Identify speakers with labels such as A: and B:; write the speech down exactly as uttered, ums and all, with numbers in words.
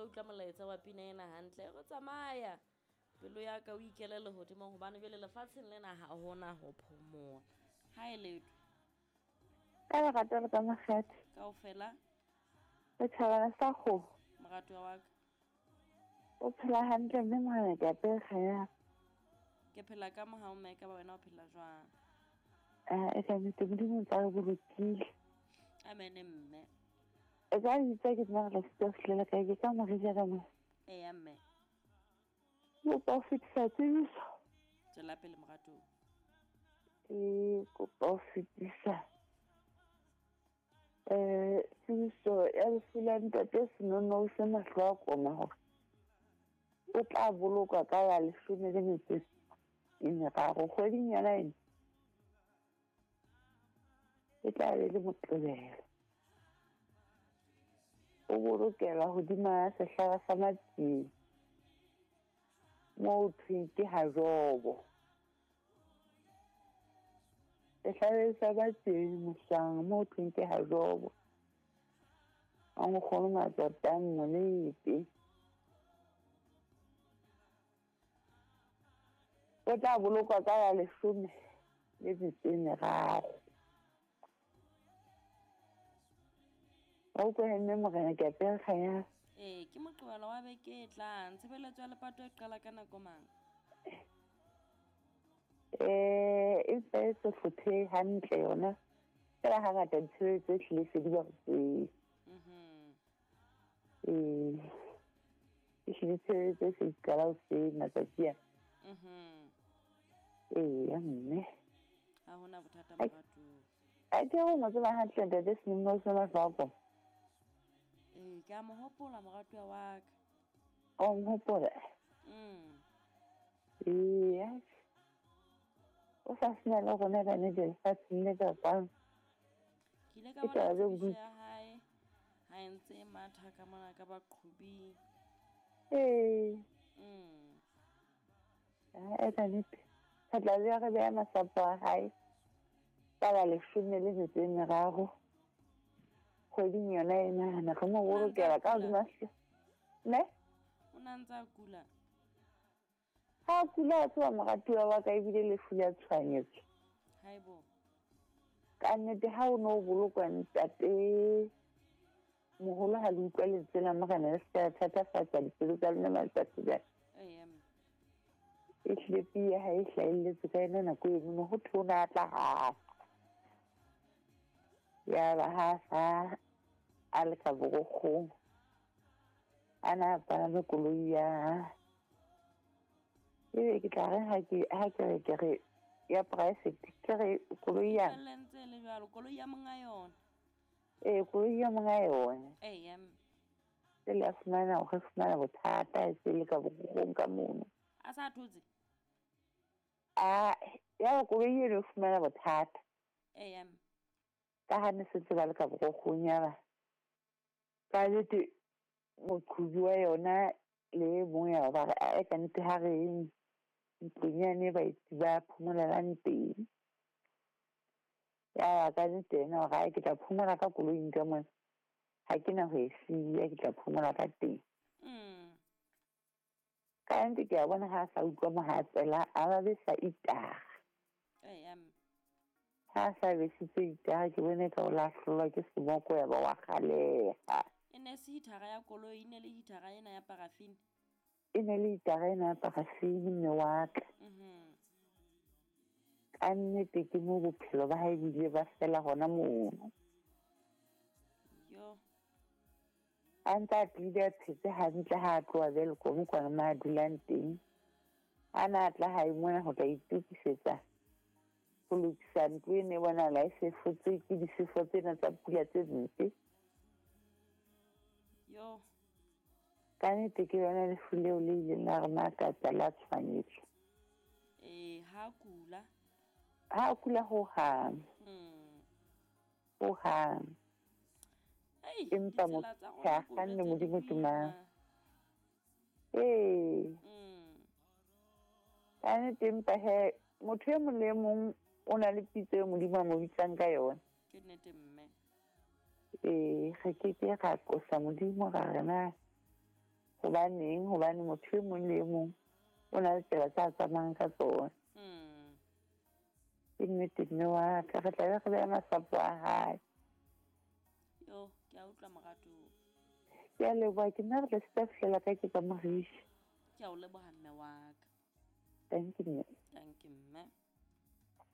A: ntso utlwa molaetsa wa pina ena hantle. Re tsamaya pelo ya ka o ikele lehodimong hobane jwale lefatsheng lena ha hona ho phomola. Ha e letho.
B: Ka lerato le ka makgethe.
A: Kaofela.
B: Setjhabana sa kgomo.
A: Moratuwa wa ka.
B: O phela hantle mme morena ke apere kganya.
A: Ke phela ka mohau mme ka ba wena o phela jwang?
B: Ah, e ka nnete Modimo o ntsa re bolokile.
A: Amen mme.
B: E ka bitsa ke nna re la sitwa ho fihlela kae ke ka morija ka mona.
A: Eya mme.
B: Kopa ho fetisa tsebiso.
A: Tswela pele moratuwa.
B: Ke kopa ho fetisa eh tsebiso ya lefu la ntate Senono se mahlo a koma hore o tla bolokwa ka la leshome le metso e meraro kgweding yona ena. E tla be le Moqebelo. O bolokelwa hodima sehlaba sa Matsieng moo thweng ke ha Jobo. Sehlabeng sa Matsieng Moswang moo thweng ke ha Jobo. A nkgono Matsatang Molepe. O tla bolokwa ka la leshome le metso e meraro. Wa utlwa mme morena ke apere kganya.
A: Ee, ke Moqebelo wa beke e tlang. Tshebeletso ya lepato e qala ka nako mang?
B: Eh, e ntse e se hlophe hantle yona. Fela hangata ditshebeletso ehlile se di ba hoseng.
A: Mhm.
B: Ee, ehlile tshebeletso se di qala hoseng matsatsi ana.
A: Mhm.
B: Eya mme.
A: Ha hona bothata moratuwa.
B: A ke o mo tseba hantle ntate Senono se mahlo a koma.
A: Ee, ke a mo hopola moratuwa wa ka.
B: O mo hopola?
A: Mm.
B: Eya. O sa sena le rona bane lefatsheng le ka kwano.
A: Ke ile ka
B: Ke
A: bona
B: taba tse
A: tsebiso
B: bodutu.
A: ya hae ha e ntse e matha ka mona ka baqhobing.
B: Ee.
A: Mm.
B: Ah, ka nnete. Re tla be re beha masapo a hae ka la leshome le metso e meraro kgweding yona ena. Ne re mo
A: O na ntse a
B: bolokela ka
A: kula?
B: hodima ne?
A: O na ntse a kula?
B: Ha a kula a tseba moratuwa wa ka ebile lefu la tshohanyetso.
A: Haebo.
B: Ka nnete ha o no bolokwa ntate moholo ha le utlwa lentswe la morena le se ka thatafatsa dipelo tsa lona matsatsi jwale.
A: Eya mme.
B: Ehlile pii ya hae e hlahelletse ka yona nako eno no ho thwe o na tla hafa. Yaba ha sa a le ka borokgong a na palame koloi ya ebe ke tla reng ha ke ha ke re ke re ya private ke re koloi ya
A: Felle ntse e le jwalo, koloi ya monga yona.
B: Ee, koloi ya monga yona.
A: Eya mme.
B: Jwale a fumana hore fumana bothata e se le ka borokgong ka mono.
A: A sa thotse?
B: A ya koloi eno e fumana bothata.
A: Eya mme.
B: Ka ha ne setse ba le ka borokgong ya ba. Ka nnete moqhobi wa yona le e mong ya ba re ae ka nnete ha re yeng ntlong yane baeti ba phomolelang teng. Ya ba ka nnete yena hore ae ke tla phomola ka koloing ka mona. Ha ke na ho e siya ke tla phomola ka teng.
A: Mm.
B: Ka nnete ke a bona ha a sa utlwa mohatsela a ba besa itara.
A: Eya mme.
B: Ha a sa besitse itara ke bone ka o lahlolwa ke semoko ya ba wa kgaleha.
A: E ne se hitara ya koloi, e ne le hitara ena ya parafini.
B: E ne le hitara ena ya parafini mme wa ka.
A: Mhm.
B: Ka nnete ke moo bophelo ba hae bo ile ba fela hona mono.
A: Yo.
B: A ntse a tlile a phetse hantle ha a tloha Welkom kwana mo a dulang teng. A na a tla hae mona ho tla itokisetsa ho lokisa ntlo e ne bonahala e sefotse ke disefo tsena tsa pula tse mpe.
A: Yo.
B: Ka nnete ke yona lefu leo le ileng la re makatsa la tshohanyetso.
A: Ee, ha kula.
B: Ha kula hohang.
A: Mm.
B: Hohang.
A: Ei,
B: Empa
A: ditsela tsa
B: motho a
A: rona
B: kganne
A: tse di
B: Modimo
A: boima.
B: tumang. Ee.
A: Mm.
B: Ka nnete empa he motho e mong le e mong o na le pitso eo Modimo a mo bitsang ka yona.
A: Ke nnete mme.
B: Ee, re ke ke ra qosa Modimo ra re na Hobaneng? Hobane motho e mong le e mong o na le tsela tsa tsamayang ka tsona.
A: Mm.
B: Ke nnete mme wa ka, re tla be re beha masapo a hae.
A: Yo, ke a utlwa moratuwa.
B: Ke a leboha, ke nna re tla sita fihlela ka ke ka Morisha.
A: Ke a o leboha mme wa ka.
B: Thank you mme.
A: Thank you mme.